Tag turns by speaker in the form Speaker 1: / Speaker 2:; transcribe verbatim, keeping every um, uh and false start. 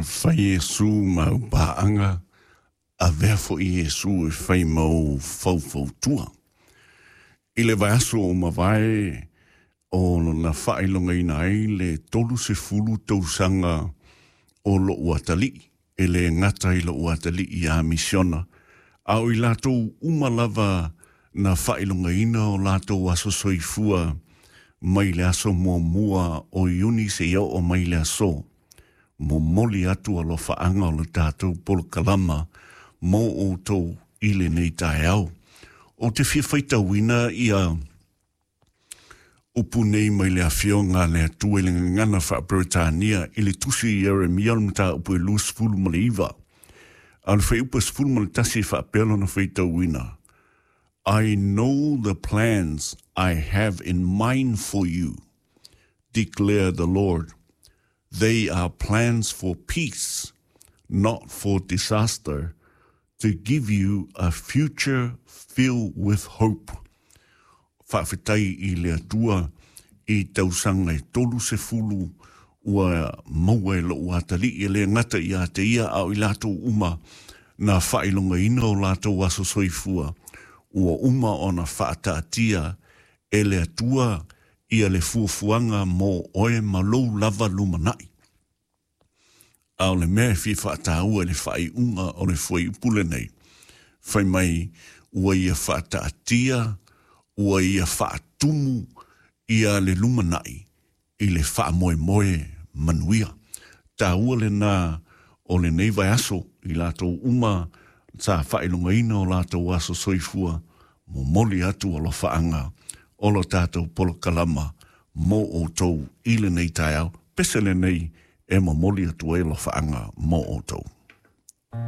Speaker 1: Fai Iesu ma au paaga, avea foi Iesu e fai ma ou faufautua. I le vaiaso ua mavae o na faailogaina ai le tolu sefulu tausaga o lo'u atalii, e lē gata i lo'u atalii ia misiona, a o i latou uma lava na faailogaina o latou aso soifua mai le aso muamua o Iuni seia oo mai le aso. Momoli atu alofaaga o le tatou polokalama mo outou i lenei taeao. Ou te fia faitauina ia upu nei mai le Afioga a le Atua i le gagana faa-Peretania i le tusi i Ieremia o le mataupu e luasefulu ma le iva. A o le fuaiupu sefulu ma le tasi e faapea lona faitauina. I know the plans I have in mind for you, declare the Lord. They are plans for peace, not for disaster, to give you a future filled with hope. Faafetai i le Atua i tausaga e tolu sefulu ua maua e lo'u atalii, e lē gata ia te ia a o i latou uma na faailogaina o latou aso soifua ua uma ona faataatia e le Atua ia le fuafuaga mo oe ma lou lava lumana'i. A o le mea e fia faataua i le faaiuga o le fuaiupu lenei, fai mai ua ia faataatia, ua ia faatumu ia le lumanai i le faamoemoe manuia. Taua lena o lenei vaiaso i latou uma sa faailogaina o latou aso soifua, momoli atu alofaaga o lo tatou polokalama mo outou i lenei taeao. Pese lenei e momoli atu ai alofaaga mo outou.